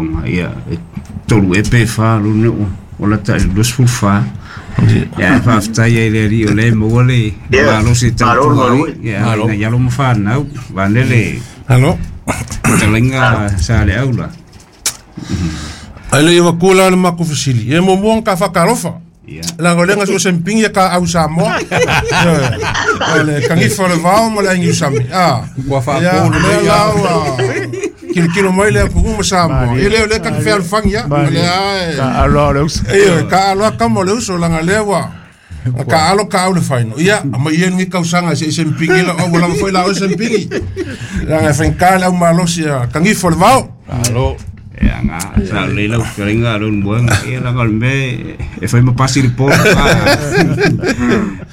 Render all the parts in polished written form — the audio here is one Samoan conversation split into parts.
aoga, ia, e 3 ea pe 4 lona ua lata i le 24. Ia, faafetai ai i le Alii o lea e maua le malosi e tautua ai, ia, ina ia alo ma fanau, vaeane le fetalaiga Saleaula. Ae le i avatua la le matou fesili, ia e muamua ona ta faatalofa. Leaga o lea na sue sempingi ia ta au Samoa. O le kanifa o le vao ma le ai niusami. Ua Ia, faapolo o lea mai la lava. ua kilokilo mai le atunuu ma Samoa. Ia lea o lea ta te fealofani ia. O lea e Taalo o le uso. Ia, taalo lava tama o le uso, leaga o lea ua taalo taau le faino. Ia, aumai ia lenei tausaga se i sempingi lau au, ua lava foi la oe sempingi. Leaga e faigata le au malosi a kanifa o le vao. Malo. Ia, na, sa lelei lau fetalaiga lou moega, ia leaga o le mea e fai ma pasi le po.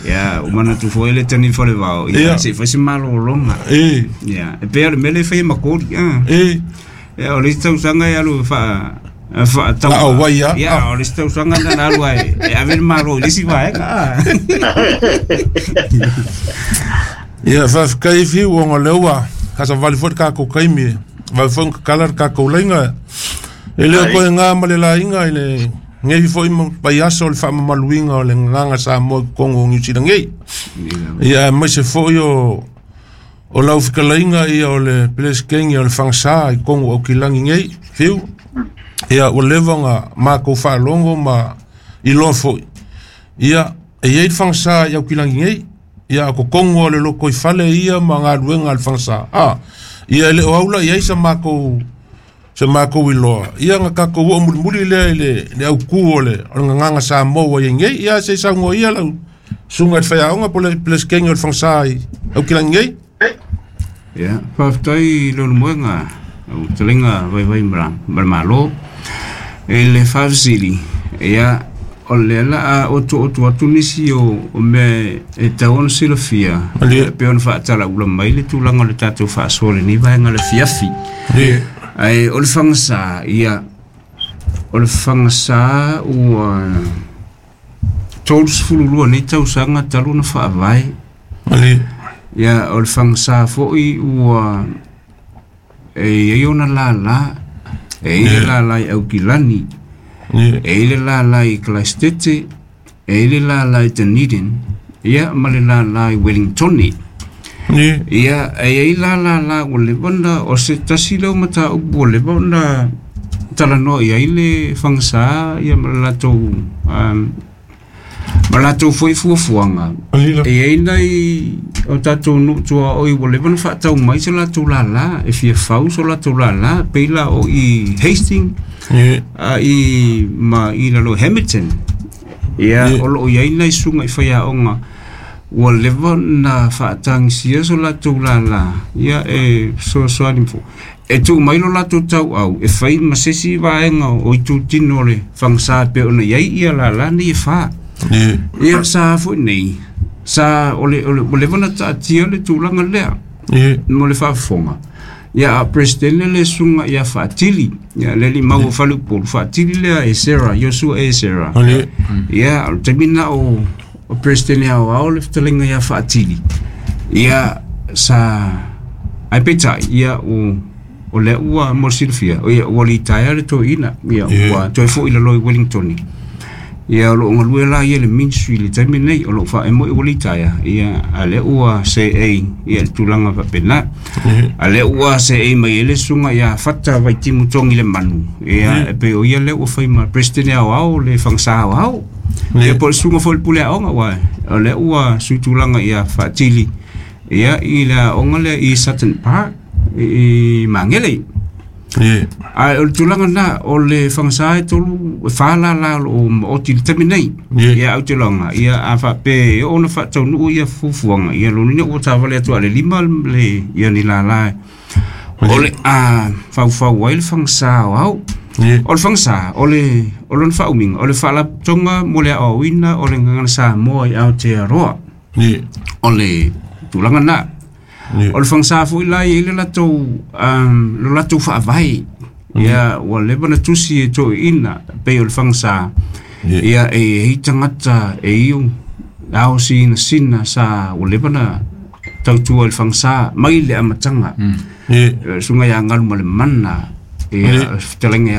Ia, ua manatu foi le tani falevao, ia, se i fai se malologa. Ia, e pei o le mea lea e fai e Makoli. Ia, o le isi tausaga e alu faatau. Na o ai lava. Ia, o le isi tausaga na alu ai e ave le malo i le isi vaega. Ia, faafetai Fiu, ona o lea ua kasavali foi le tatou taimi, e vave foi ona tatala le tatou laina. E le o toe na ma le laina i lenei foi vaiaso o le faamamaluina o le gagaga Samoa i totonu o Niu Sila nei. Ia, aemaise foi o lau fetalaiga ia o le Peresetene o le Fagasa i totonu o Aukilani nei, Fiu. Ia, ua leva ona matou faalogo ma iloa foi. Ia, e i ai le Fagasa i Aukilani nei. Ia, o totonu o le lotoifale ia ma galuega a le Fagasa. Ia, e le o aula i ai sa matou iloa. Ia, na tatou oo mulimuli lea i le autu o le gagaga Samoa ua i ai nei. Ia, se i saunoa ia lau susuga i le faiaoga po o le Peresetene o le Fagasa i Aukilani nei. Ia, faafetai i lou moega, lau fetalaiga Vaivai ma le Malo. I le faafesili, ia, o lea la a otooto atu nisi o mea e tatau ona silafia, e pei ona faatalaula mai le tulaga o le tatou faasoa i lenei vaega o le afiafi. Ae o le Fagasa, ia, o le Fagasa ua 32 nei tausaga talu ona faavae. Ia, o le Fagasa foi ua e i ai ona lala, e i ai le lala i Aukilani, e i ai le lala i Kalaisitete, e i ai le lala i Dunedin, ia, ma le lala i Wellingtoni. Ia, e i ai la lala ua leva ona, o se tasi lea o mataupu ua leva ona talanoa i ai le Fagasa ia ma le latou ma latou foi fuafuaga. E i ai nai o tatou nuu tuaoi ua leva ona faatau mai so latou lala, e fia fau so latou lala, pei la o i Hastings, i ma i lalo Hamilton. Ia, o loo i ai nai susuga i faiaoga ua leva ona faatagisia so latou lala, ia e fesoasoani fo. E tuu mai lo latou tauau e fai ma se isi vaega o itutino o le Fagasa e pei ona i ai ia lala nei e fa. Ia sa foi nei, sa o le ua leva ona taatia le tulaga lea mo le faafofoga. Ia, a Presidente le susuga ia Faatili, ia le alii mau o Faleupolu, Faatili lea e Sarah, Iosua e Sarah. Ia, o le taimi lena o Presidente aoao le fetalaiga ia Faatili. Ia, sa ai peitai, ia o lea ua mo le silafia, ia ua litaea le toeaina, ia ua toe foi i lalo i Wellingtoni. Ia, o loo galue la ia i le ministry i le taimi lenei, o loo faaemo ua litaea, ia, a lea ua seei ia le tulaga faapena. A lea ua seei mai ai le susuga ia Fata Vaitimu Togi le Manu, ia, e pei o ia lea ua fai ma President aoao le Fagasa aoao. Ia, po o le susuga foi i le pule aoga, aua o lea ua sui tulaga ia Faatili, ia, i le aoga lea i Sutton Park i Magele. Ae o le tulaga lena, o le Fagasa e 3 e 4 lala o loo maoti i le taimi nei. Ia, ou te iloaga, ia, a faapea e oo ona faataunuu ia fuafuaga, ia lona uiga ua tavale atu a le 5 le ia ni lala o le a faufau ai le Fagasa aoao. O le Fagasa, o le o lona faaumiga, o le faalapotopotoga mo le aoaoina o le gagana Samoa i Aotearoa. O le tulaga lena. O le Fagasa foi la e i ai le latou lo latou faavae. Ia, ua leva ona tusi e toeaiina pei o le Fagasa. Ia, e i ai tagata e iu ao sinasina sa ua leva ona tautua i le Fagasa mai le amataga. Susuga ia Galumalemana, ia, fetalaiga ia